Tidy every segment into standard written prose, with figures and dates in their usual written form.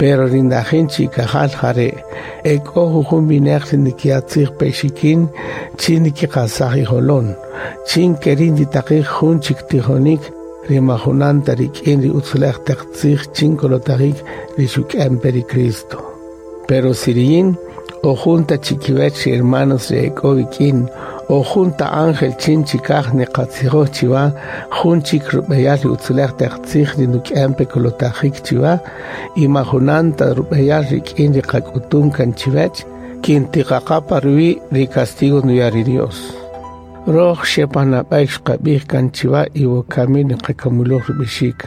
Pero ri ndajin chi'ikajal jare', ek'o jujun wineq ri ndikiya' tzij pa ixikin chin ndikiqasaj ijolon, chin keri' nditaqij jun chik tijonik ri ma junan ta rik'in ri utzulej teq tzij chin kolotajik ri xuk'en pe ri Cristo. Pero si riyin o jun ta chikiwech ri hermanos ri ek'o wik'in o jun ta ángel chin chikaj niqatzijoj chiwa jun chik rub'eyal ri utzulej teq tzij ri nduk'en pe kolotajik chiwa y ma junan ta rub'eyal rik'in ri qak'utun kan chiwech, kin tiqaqa pa ruwi' ri castigo nduya' ri Dios. Roj xe pa nab'ey xqab'ij kan chiwa y wokami niqakamuluj rub'ixik: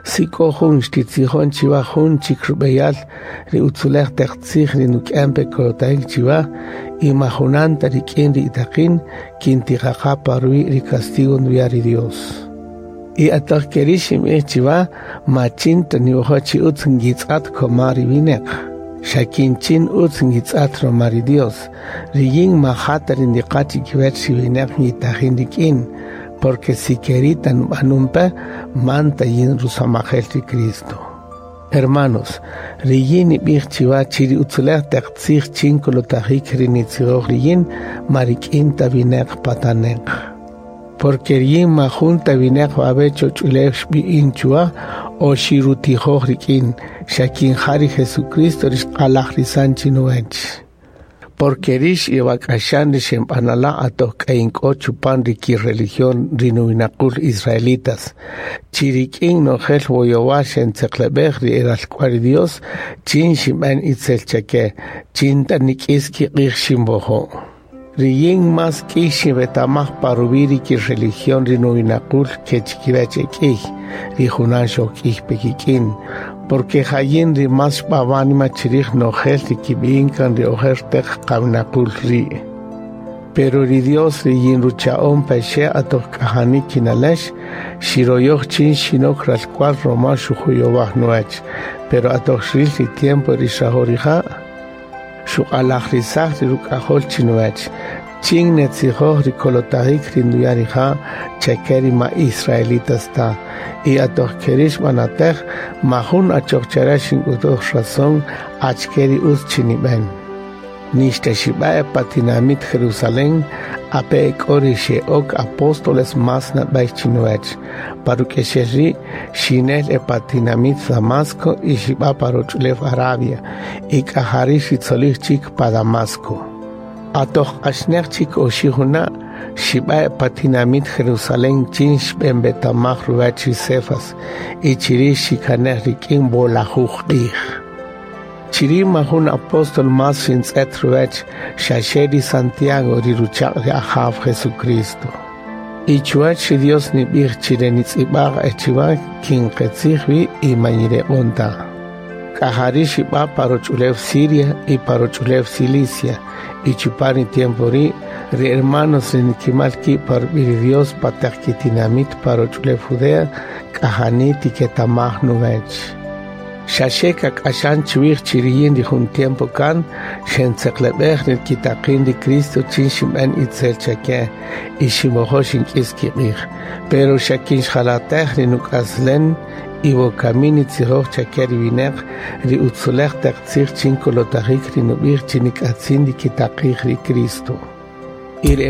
Si k'o jun xtitzijon chiwa jun chik rub'eyal ri utzulej teq tzij ri nduk'en pe kolotajik chiwa y ma junan ta rik'in ri itaqin, kin tiqaqa pa ruwi' ri castigo nduya' ri Dios. Y atoq keri' xinb'ij chiwa, ma chin ta niwojo' chi utz ngitz'at koma ri wineq, xa kin chin utz ngitz'at roma ri Dios. Riyin ma ja ta ri ndiqa' chikiwech ri wineq ngitajin rik'in, porque si keri' ta nub'anun pe, man ta yin rusamajel ri Cristo. Hermanos, riyin nib'ij chiwa chi ri utzulej teq tzij chin kolotajik ri nitzijoj riyin ma rik'in ta wineq pataneq. Porque riyin ma jun ta wineq wawe' choch'ulew xb'i'in chuwa o xirutijoj rik'in, xa kin ja ri Jesucristo ri xq'alajrisan chinuwech. Porque rix iwak'axan ri xenb'anala' atoq k'a ink'o chupan ri ki-religión ri nuwinaqul israelitas, chi rik'in nojel woyowal xentzeqleb'ej ri eralk'ua'l ri Dios chin xinb'en itzel chake, chin ta nik'is kiq'ij xinwojo'. Riyin más k'iy xinwetamaj pa ruwi' ri ki-religión ri nuwinaqul ke chikiwech ek'iy ri junan xojk'iy pe kik'in, porque ja yin ri más xb'a wánima chirij nojel ri kib'i'in kan ri ojer teq qawinaqul ri'. Pero ri Dios ri yin rucha'on pe xe atoq k'ajani kinalex, xiroyoj chin xinok ralk'ua'l roma xujuyowaj nuwech. Pero atoq xril ri tiempo ri xrajo' rija', xuq'alajrisaj ri ruk'ajol chinuwech, chin netzijoj ri kolotajik ri nduya' rija' chake ri ma israelitas ta. Y atoq keri' xb'anatej, ma jun achoq chare xink'utuj razón achike ri utz chi nib'en. Nixta xib'a e pa tinamit Jerusalén, ape' ek'o ri xe'ok apóstoles más nab'ey chinuwech. Pa ruk'exel ri', xinel e pa tinamit Damasco y xib'a pa roch'ulew Arabia, y k'ajari' xitzolij chik pa Damasco. Atoq q'axneq chik oxi' juna', xib'a e pa tinamit Jerusalén chin xb'enb'etamaj ruwech ri Cefas, y chiri' xikanej rik'in wolajuj q'ij. Chiri' ma jun apóstol más xintz'et ruwech, xaxe ri Santiago ri ruchaq' ri Ajaw Jesucristo. Y chuwech ri Dios nib'ij chi re nitz'ib'aj e chiwa kin qetzij wi y ma yireq'on ta. K'ajari' xib'a pa roch'ulew Siria y pa roch'ulew Cilicia, y chupan ri tiempo ri', ri hermanos ri nikimal ki' pa rub'i' ri Dios pa teq kitinamit pa roch'ulew Judea, k'ajani tiketamaj nuwech. Xaxe kak'axan chuwij chi riyin ri jun tiempo kan xentzeqleb'ej ri kitaqin ri Cristo chin xinb'en itzel chake y xinwojo' xink'is kiq'ij. Pero xa kin xjalatej ri nuk'aslen y wokami nitzijoj chake ri wineq ri utzulej teq tzij chin kolotajik ri nub'ij chi nik'atzin ndikitaqij ri Cristo. Y ri